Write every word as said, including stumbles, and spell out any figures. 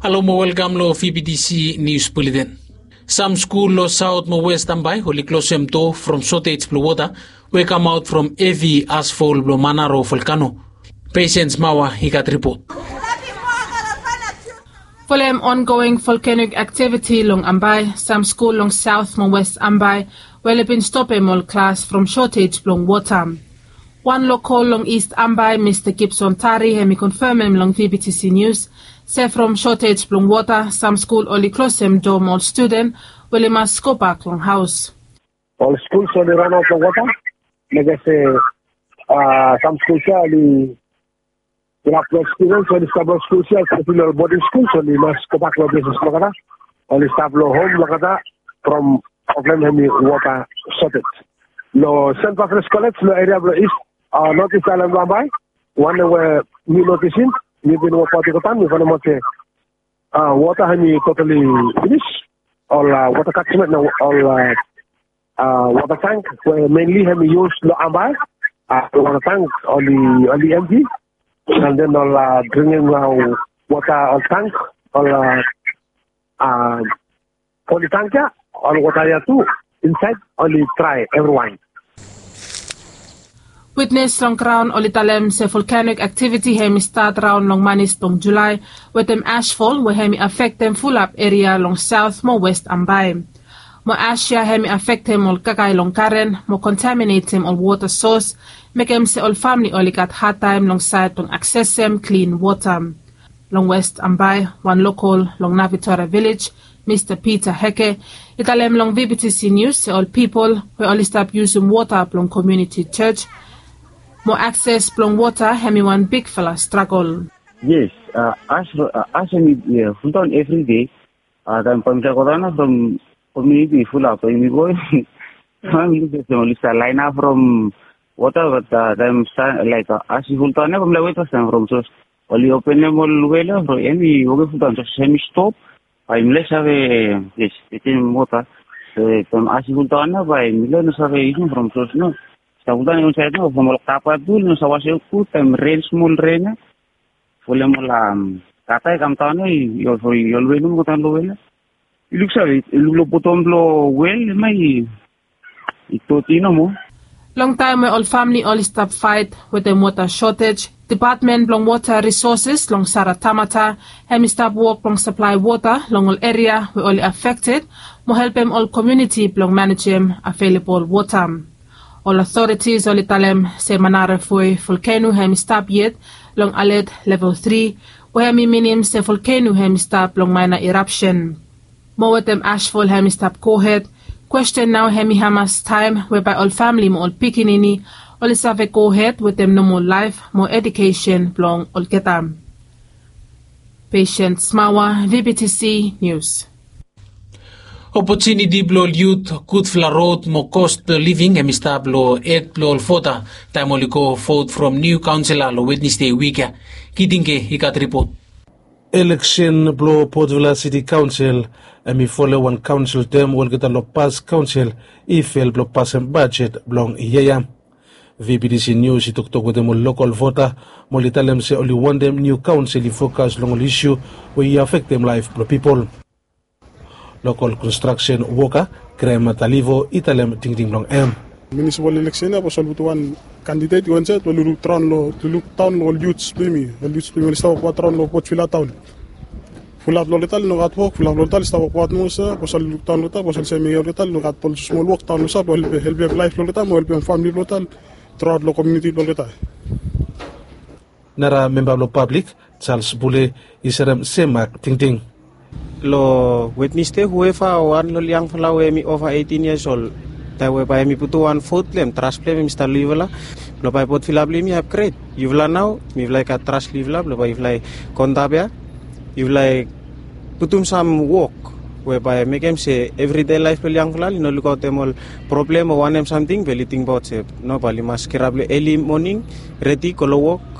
Halo mo welkam long V B T C Nius Buleten. Sam skul long Saot mo West Ambae oli klosem doa from sotej blong wota we kamaot from hevi asfol blong Manaro volkano. Pesiens Mawa i gat ripot. Folem ongoing volkanik aktiviti long Ambae, sam skul long Saot mo West Ambae we oli bin stopem ol klas from sotej blong wota. Wan lokol long Ist Ambae, Mista Gibson Tari, hem i konfemem long V B T C Nius se from sotej blong wota, sam skul oli klosem doa mo ol studen we oli mas gobak long haos. Ol skul oli ranaot long wota, mekem se sam skul ya oli inap long ekspiriens, oli stap long skul ya, espeseli ol boding skul, oli mas gobak long ples blong olgeta. Oli stap long hom blong olgeta from problem hem i wota sotej. Long Sent Patrias Kolej long eria blong Ist, North Ist Aelan blong Ambae, wanem we mi notisim, mi bin wokbaot i go daon, mi fainemaot se wota hem i totali finis. Ol wota katjamen, ol wota tank we menli hem i yus long Ambae, wota tank oli emti. And then ol dringim wota, ol tank, ol poli tank ya, ol wota ya tu insaed oli drae evriwan. Witnes long graon oli talem se volkanik aktiviti hem i stat raon long manis blong Julae wetem asfol we hem i afektem fulap eria long Saot mo West Ambae. Mo as ya hem i afektem ol kakae long garen mo kontaminetem ol wota sos, mekem se ol famle oli gat hadtaem long saed blong aksesem klin wota. Long West Ambae, wan lokol long Navitora Vilej, Mista Peter Heke, i talem long V B T C Nius se ol pipol we oli stap yusum wota blong komuniti jos mo akses blong wota hem i wan bigfala stragol. Yes, as hem i fuldaon evri dei, taem bae mifala i go daon ya from komuniti fulap, bae yumi go, bae mi luk olsem oli stap laenap from wota, bat taem laek as i fuldaon ya bae mifala i wet fastaem from sos oli openem ol wel ya from hem i wokem fuldaon, sos hem i stop, bae mifala i save, yes, wetem wota. Taem as i fuldaon ya bae mifala i no save yusum from sos no. Stap fuldaon ya insaed no from ol kapa tu oli no save wasem gud, taem ren, smol ren ya folem ol gata i kamdaon ya i ol wel nomo i go daon long wel ya. I luksave, i luk long botom blong wel, hemia i doti nomo. Long taem we ol famle oli stap faet wetem wota sotej, depatmen blong wota risoses long Saratamata hem i stap wok blong saplae wota long ol eria we oli afekted mo helpem ol komuniti blong manejem avelebol wota. Ol otoritis oli talem se Manara Foe volkeno hem i stap yet long alet level tri, we hem i minim se volkeno hem i stap long maena irapsen. Mo wetem asfol hem i stap gohed, kwesten nao hem i hamas taem we bae ol famle mo ol pikinini oli save gohed wetem nomol laef mo edukesen blong olgeta. Patient Smawa, V B T C News. Opotuniti blong ol yut, gudfala rod mo cost blong living hem i stap long hed blong ol vota taem oli go vot from niu kaonsela long Wednesde wik ya. Kitingke i gat ripot. Eleksen blong Port Vila City Council hem i folem wan kaonsel term we olgeta long pas kaonsel i fel blong pasem bajet blong yia ya. V B T C News i toktok wetem ol lokol vota mo oli talem se oli wantem niu kaonsel i fokas long ol isu we i afektem laef blong pipol. Lokol konstraksen woka Graham Matalivo i talem tingting blong hem. Munisipal eleksen ya bae oli putum wan kandidet i go insaed we oli lukdaon long, lukdaon long ol yuts blong yumi, ol yuts blong yumi oli stap wokbaot raon long Port Vila taon. Fulap long olgeta oli no gat wok, fulap long olgeta oli stap wokbaot nomo olsem bae oli lukdaon long olgeta, bae oli save mekem olgeta oli no gat ol smol wok daon long olsem blong helpem laef blong olgeta mo helpem famle blong olgeta traot long komuniti blong olgeta. Nara memba blong pablik, Charles Bule, i serem sem mak tingting. Long Wednesde, hueva wan long ol yangfala we hem i ova eitin yias ol, taem we bae hem i putum wan vot blong hem, tras blong hem hem i stap long yufala blong bae Port Vila blong yumi i apgred. Yufala nao mifala i gat tras long yufala blong bae yufala i go antap ya, yufala i putum sam wok we bae mekem se evride laef blong ol yangfala oli no lukaotem ol problem o wanem samting be oli tingbaot se no, bae oli mas kirap long eli moning, redi go long wok.